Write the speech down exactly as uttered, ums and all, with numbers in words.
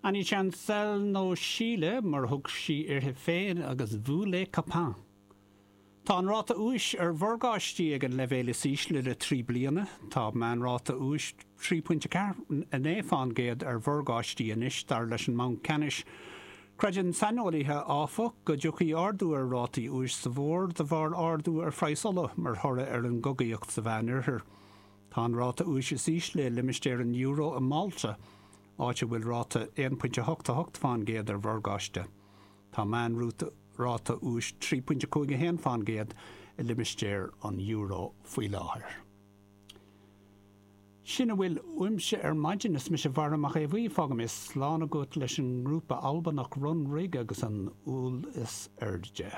Annie Chancel nó Síle mar thug sí uirthi féin agus Vous les copains. Tá an ráta úis ar mhorgáistí ag an leibhéal is ísle le trí bliana, Tá meánráta úis trí pointe naoi faoin gcéad ar mhorgáistí anois dar leis an mBanc Ceannais. Creideann saineolaithe áfach go dtiocfaidh ardú ar rátaí úis sa bhfómhar de bharr ardú ar phraghas ola mar thoradh ar an gcogaíocht sa Mheánoirthear. Tá an ráta úis is ísle i limistéar an euro i Malta, áit a bhfuil ráta aon pointe hocht a hocht faoin gcéad ar mhorgáiste. Tá meánráta ráta úis trí pointe cúig a haon faoin gcéad i limistéar an euro faoi láthair. Sin a bhfuil uaimse ar maidin is mise Mhara Mac Aodha fágaim slán agat leis an ngrúpa Albanach Runrig agus an Úll is Airde.